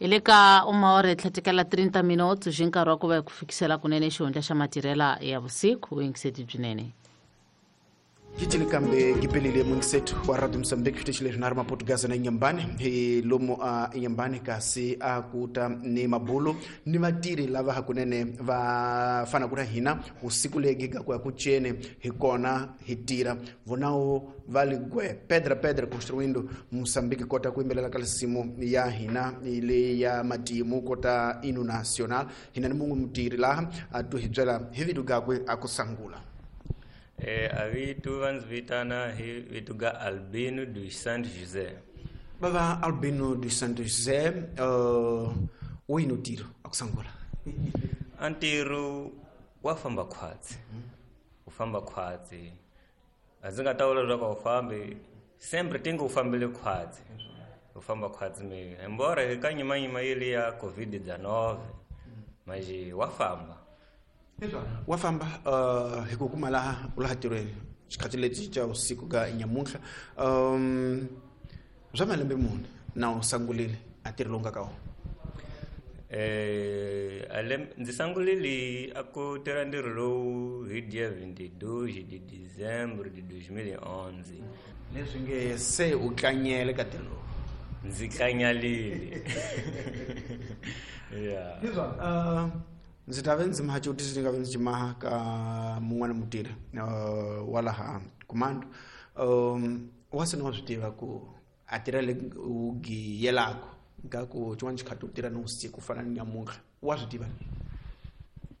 Hi le ka uma hora tlhatekela 30 minutos hi nkarhi wa ku va hi ku fikisela kunene xihundla xa matirhela ya vusiku vuyingiseti byinene. Gicile kambe gipelile mungisetu wa Radio Mozambique xitichi leswi na ri maportugazi na Inyambani hi lomu a Inyambani kasi a kuta ni mabulu ni vatirhi lava hakunene va fanaka na hina usiku legi ga ku ya ku ceni hi kona hi tirha vonawo va ligwe pedra pedra construindo Mozambique kota ku yimbelela ka lisimu ya hina leyi ya matimu kota inu national hina ni mun'we mutirhi laha a tu hi byela hi vito gakwe a ku sangula. A vito va ndzi vitana hi vito ga Albino dos Santos José. Bava Albino dos Santos José, wo yini ntirho a ku sangula? A ntirho wa famba khwatsi. U famba khwatsi. A ndzi nga ta vula leswaku a wu fambi, sempre tingi u fambile khwatsi. U famba khwatsi mi. Embora hi ka nyimanyima yeli ya COVID-19, manje wa famba. Wa famba hi ku kuma laha u laha tirhweni xikhathi lexi xa usiku ka nyamuntlha swa malembe mune na u sangulile a ntirho lowu nga ka wona? Ndzi sangulile a ku tirha ntirho lowu hi dia 22 de dezembro de 2011. Leswi nge se u tlanyele ka ntirho lowu? Ndzi tlanyalile. Yeah. Hizwa, ndzi ta ve ndzi maha xivutiso ndzi nga ve ndzi xi maha ka mun'wana mutirhi wa laha Kumando. Wa se ni wa swi tiva ku a tirha le u giyelaka ka ku xin'wana xikhathi u tirha ni vusiku ku fana ni nyamuntlha, wa swi tiva?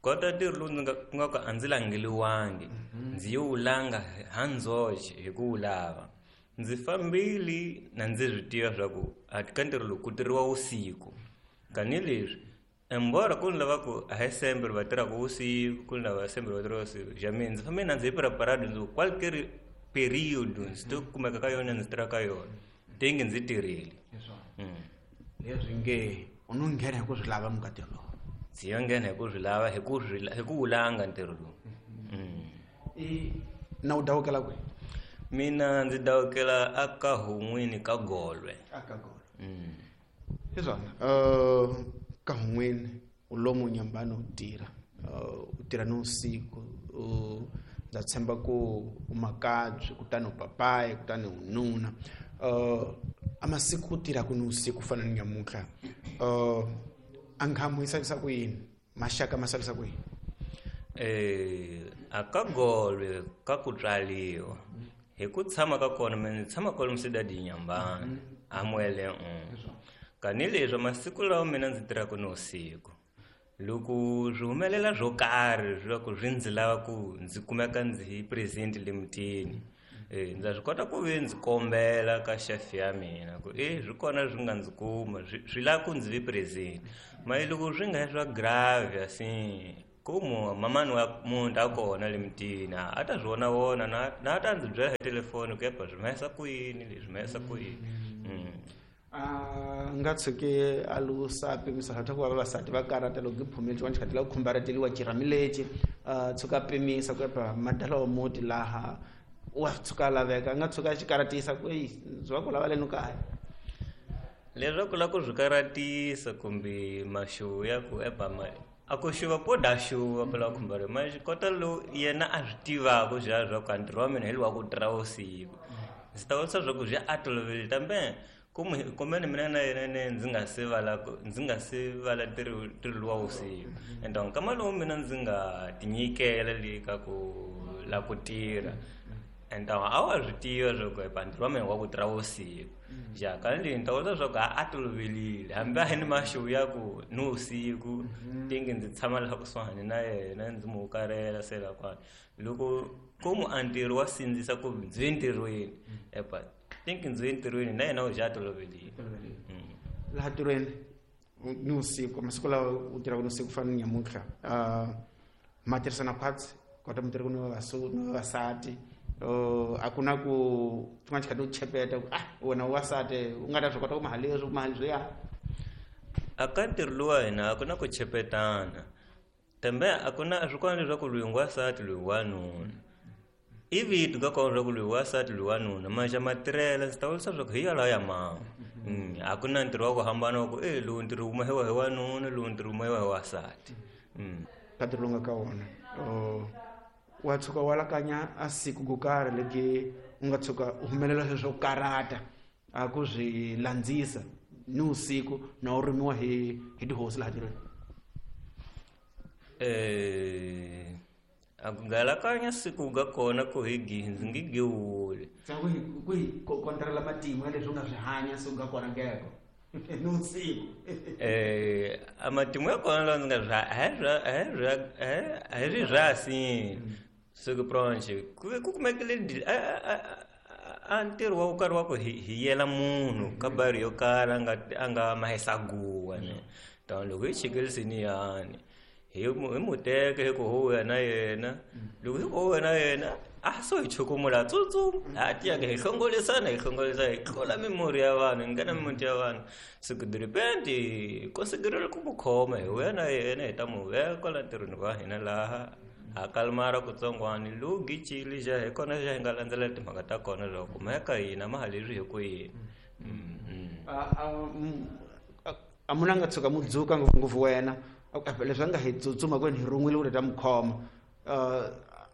Kota ntirho lowu ndzi nga ku nga ku a ndzi langeliwangi, ndzi yo wu langa ha ndzoxe hi ku wu lava. Ndzi fambile na ndzi swi tiva swa ku a ka ntirho lowu ku tirhiwa vusiku. Tanihileswi embora ku ni lava ku a hi sembe va tirhaka vusiku, ku ni lava sembe va tirhaka vusiku. Ja mina ndzi fambe na ndzi preparado ndzi ku qualquer period ndzi to kumeka ka yona ndzi tirha ka yona. Tingi ndzi tirhile. Leswi nge u no nghena hi ku swi lava mukatelo lowu. Ndzi yo nghena hi ku swi lava, hi ku swi hi ku wu langa ntirho lowu. I na u dawukela kwihi? Mina ndzi dawukela aka Hun'wini ka Golwe. Aka Golwe. Hi swona. Ka Hun'wini u lomu Nyambani u tirha. U tirha ni vusiku. Ndza tshemba ku u makabye, kutani u papayi, kutani u nuna. A masiku ku tirhaka ni vusiku ku fana ni nyamuntlha. A nkhamu yi salisa ku yini? Maxaka ma salisa ku yini? A ka Golwe ka ku tswaliwa. Hi ku tshama ka kona, mina ndzi tshama kwalomu Cidade Inhambane, a Muele 1. Kanileswi masiku lawa mina ndzi tirhaka ni vusiku, loko swi humelela swo karhi swa ku swi ndzi lava ku ndzi kumeka ndzi hi present le mutini, ndza swi kota ku ve ndzi kombela ka chef ya mina ku swi kona swi nga ndzi kuma, swi lava ku ndzi vi present. Mara loko swi nga swa grave assim, ku mamani wa munhu a kona le mutini, a ta swi vona vona, na ta ndzi byela hi telefoni ku epa swi humesa ku yini leswi humesa ku yini. A nga tshuki a lusa pimisa swa ku va vavasati va karata loko giphumile xin'wana xikhathi la ku khumbareteliwa xirhami lexi, a tshuka a pimisa ku epa madala wa muti laha wa tshuka a laveka, a nga tshuka a xi karatisa ku ei ndzi va ku lava leno kaya. Leswaku la ku swi karatisa kumbe maxuwu ya ku epa a ku xuva po da xuva phela khumbaro, ma xi kota lowu yena a swi tivaka swa swa ku ntirho wa mina hi lowa ku tirha vusiku. Ndzi ta vutisa swa ku swi a toloverile kambe kumbe mina na yena ne ndzi nga se vala ku, ndzi nga se vala ntirho lowa vusiku. And nkama lowu mina ndzi nga tinyikela le ka ku la ku tirha. And a wa swi tiva swa ku epa ntirho wa mina wa ku tirha vusiku. Ja, ka leyi ni ta vula swa ku a toloverile, hambi a hi ni maxuwu ya ku ni vusiku, tingi ndzi tshama laha kusuhani na yena ndzi n'wi hukarhela se la kwala. Loko ku mu a ntirho wa sindzisa ku ndzi ye ntirhweni, epa tingi ndzi ye ntirhweni na yena u ja a toloverile. Laha ntirhweni ni vusiku, masiku lawa u tirhaka ni vusiku ku fana ni nyamuntlha, ma tirhisana khwatsi kota mi tirhaka ni ni vavasati. A ku na ku xin'wana xikhathi u chepeta ku, wena u wasati u nga ta swi kota ku maha leswi, ku maha leswiya. A ka ntirho lowu wa hina a ku na ku chepetana, kambe a ku na swi kona leswaku loyi ngwasati loyi wanuna. I vito ka kona leswaku loyi wasati loyi wanuna, maxa matirhela ndzi ta vurisa leswaku hi yalawa ya mama. A ku na ntirho wa ku hambana wa ku e lowu ntirho wu mahiwa hi wanuna, lowu ntirho wu mahiwa hi wasati. Ka ntirho lowu nga ka wona wa tshuka wa lakanya a siku ko karhi legi u nga tshuka u humelela sweswo swo karata a ku swi landzisa ni vusiku na u rhumiwa hi tihosi laha tirhweni? A ku galakanya siku ga kona ku hi ndzi nge gewuli. Ku hi kontrela matimu ya leswi u nga swi hanya siku ga kona ngeko ni vusiku. A matimu ya kona lawa ndzi nga swi a hi ri rhasini siku pronche ku ve ku kumekile a ntirho wa ku karhi wa ku hi yela munhu ka bari yo karhi a nga mahisa guwa ne. Tani loko hi chikelisini yani hi muteke hi ku huya na yena, loko hi ku huya na yena a so hi chukumula tsutsuma a tiyaka hi hlongolisana hi hlongolisa hi tlula mimurhi ya vanhu hi nghena mimiti ya vanhu. Siku diripenti konsiderele ku mu khoma hi huya na yena hi ta mu veka kwala ntirhweni wa hina laha a kalmara kutsongwani lowu gicili xa hi kona xa hi nga landzelela timhaka ta kona loko kumeka hina ma ha leswi hi ku yini. A munhu a nga tshuka mu dzuka ngopfungopfu wena leswi a nga hi tsutsuma kwini hi rhun'wile ku ta mu khoma,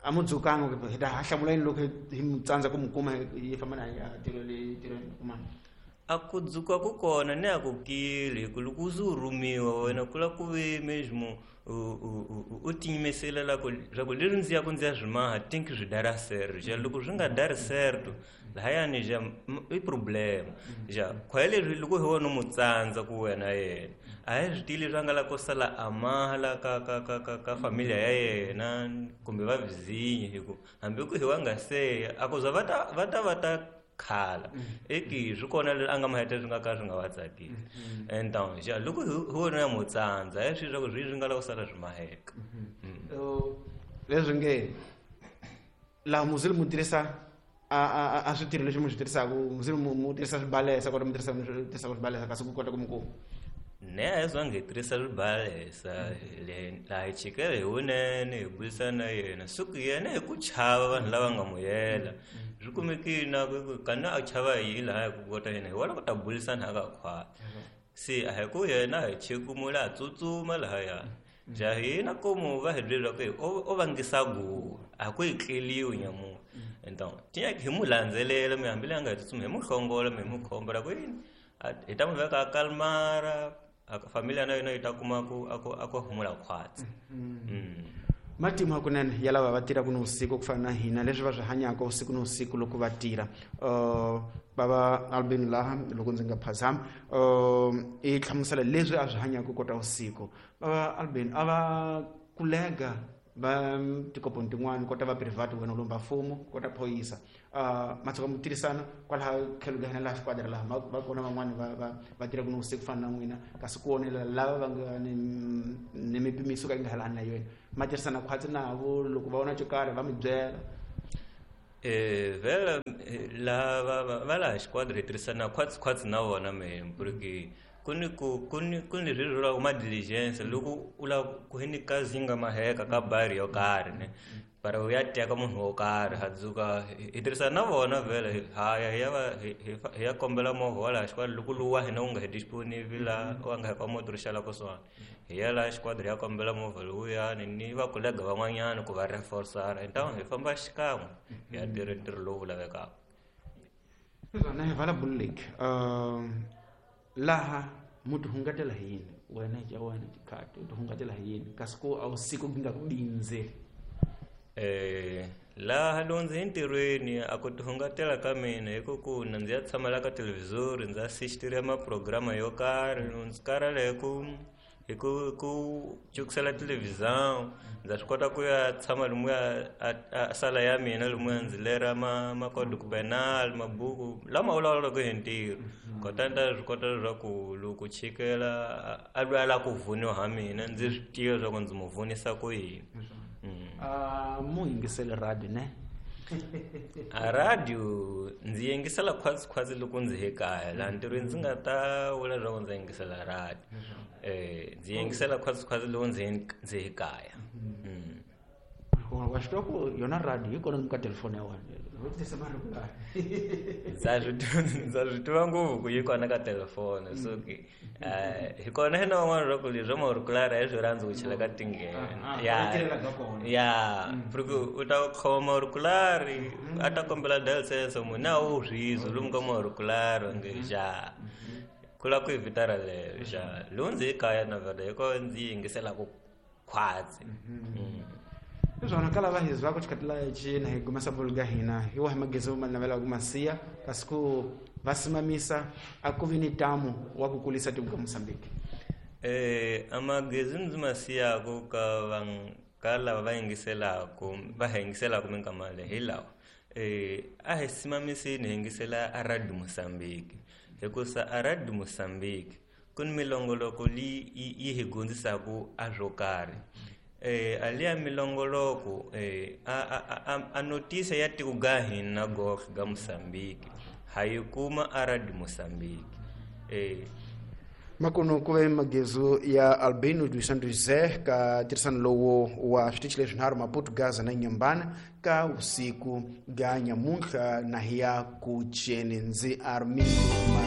a mu dzukanga hi ta hlamula yini loko hi mu tsandza ku mu kuma hi famba na ya tirhweni kumana? A ku dzuka ku kona ni a ku kile hi ku loko u ze u rhumiwa wena ku la ku ve mesmo u tiyimisela la ku swa ku leswi ndzi ya ku ndzi ya swi maha think swi dara certo ja loko swi nga dari certo lahayani ja i problem ja khwaye leswi loko hi wona mu tsandza ku wena yena a hi swi tivi leswi a nga la ku sala a maha la ka ka ka ka ka familia ya yena kumbe va vizinye hi ku hambi ku hi wa nga seya a ku za va ta khala eki swi kona leswi a nga maheta swi nga ka swi nga va tsakisi. Então ja loko hi wona ya mu tsandza hi swi swa ku swi nga la ku sala swi maheka. Leswi nge laha muzili mu tirhisa a switirho leswi mu swi tirhisaka, muzili mu tirhisa swibalesa kota mu tirhisa swibalesa kasi ku kota ku mu kuma. Ne a hi zangi hi tirhisa swibalesa laha hi chikela hi wunene hi burisana na yena siku yena hi ku chava vanhu lava nga mu yela swi kumekile na ku kana a chava hi laha hi ku kota yena hi wona ku ta burisana a ka khwati se a hi ku yena hi chekumula a tsutsuma lahaya ja hina komu va hi byela ku o vangisa guwa a ku hi tleliwi nyamunhu. Então tiya hi mu landzelela mi hambi leyi a nga hi tsutsuma hi mu hlongola mi hi mu khombela ku yini hi ta mu veka a kalmara familia na yona yi ta kuma ku a ku humula khwatsi. Matimu hakunene ya lava va tirhaka ni vusiku ku fana na hina leswi va swi hanyaka vusiku ni vusiku loko va tirha. Bava Albin laha loko ndzi nga phazami i hlamusela leswi a swi hanyaka kota vusiku. Bava Albin a va kulega va tikoponi tin'wani kota va private wena lomba mfumo kota phoyisa ma tshuka mu tirhisana kwalaha tlhelo ka hina laha xikwadi laha va kona van'wani va tirhaka ni vusiku fana na n'wina kasi ku onela lava va nga ni mipimiso ka yi nga halani na yona ma tirhisana khwatsi navo loko va vona xo karhi va mi byela. Vhela lava va laha xikwadi hi tirhisana khwatsi na vona mehe porque ku ni leswi vulaka ma diligence loko u lava ku hi ni kazi nga maheka ka bari yo karhi ne para u ya teka munhu wo karhi ha dzuka hi tirhisana na vona vhele haya hi ya va hi ya kombela movha wa laha xikwadi loko lowu wa hina wu nga hi disponible laha wa nga hi ka moto ri xala kusuhani hi ya laha xikwadi hi ya kombela movha lowuyani ni va kolega van'wanyana ku va reinforcer então hi famba xikan'we hi ya tirha ntirho lowu lavekaka. Swona hi vala bulek laha mu tihungatela hi yini wena ya wena tikhati u tihungatela hi yini kasi ku a vusiku ku nga ku bindzeli? Laha loko ndzi entirhweni a ku tihungatela ka mina hi ku ku na ndzi ya tshama la ka televhizori ndzi assistira maprograma yo karhi loko ndzi karhala hi ku cukisela televhizão ndza swi kota ku ya tshama lomuya a sala ya mina lomuya ndzi lera macódigo penal mabuku lama vulavulaka hi ntirho kota ni ta swi kota leswaku loko chikela a lwa la ku vuniwa ha mina ndzi swi tiva leswaku ndzi mu vunisa ku yini. Mu yingisele radio ne? A radio ndzi yingisela khwatsi loko ndzi he kaya laha ntirhweni ndzi nga ta vula leswaku ndzi yingisela radio. Ndzi yingisela khwatsi loko ndzi he kaya. Wa swi tiva ku yona radio yi kona ka telefoni ya wena. Ndza swi tiva ngopfu ku yi kona ka telefoni, so ke hi kona hina van'wana ra ku leswi maurikulari a hi swi rhandzi ku chela ka tinghena ya ya porque u ta khoma maurikulari a ta kombela delsenso munhu a wu rhizo lomu ka maurikulari onge xa ku lava ku yi vita raleyo xa lowu ndzi yi kaya na vhele hi ko ndzi yingiselaku khwatsi. Leswona ka lava hi zwako xikhatila cina hi gumesa bolo ga hina hi wahi magezi ma navelaka masiya kasi ku va simamisa a ku vi ni tamu wa ku kulisa tiko ka Mozambique? Amagezi ndzi ma siyaku ka van ka lava va yingiselaku va hi yingiselaku minkama leyi hi lawa: a hi simamisini hi yingisela a Radio Mozambique, hikusa a Radio Mozambique ku ni milongoloko leyi yi hi dyondzisaku a swo karhi. Aliya milongoloko a notice ya tiko ga hina goxe ga Mozambique ha yi kuma a Radio Mozambique. Makuno ku ve magezu ya Albino dos Santos Zé ka tirhisano lowu wa switichi leswinharhu, Maputo, Gaza na Nyambana, ka usiku ga nyamuntlha na hi ya ku ceni. Ndzi Armindo.